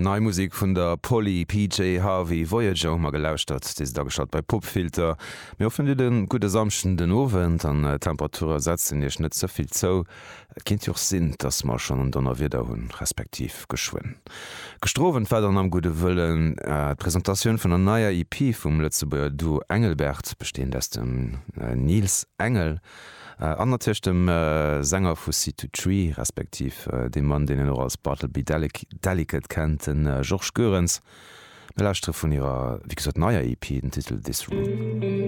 Nei Musek vun der Polly, PJ Harvey, Voyager hu mer gelauschtert. Dir sidd ageschalt bei Popfilter. Mir hoffen dir hutt e gudde Samschden den Owend an d'Temperature setzen iech net ze vill zou. Et kéint jo och sinn, dass mer schonn en Donnerwieder hunn, respektiv geschwënn. Gëschter Owend war dann am Gudde Wëllen d'Presentatioun vun der neier EP vum Lëtzebuerger Duo Engelbert, besteeënd aus dem Niels Engel an natierlech dem Sänger vu Seed to Tree, respektiv deem Mann, deen een och als Bartleby Delicate kennt, de Georges Goerens. Mir lauschtere vun hirer, wéi gesot, neier EP, den Titel This Room.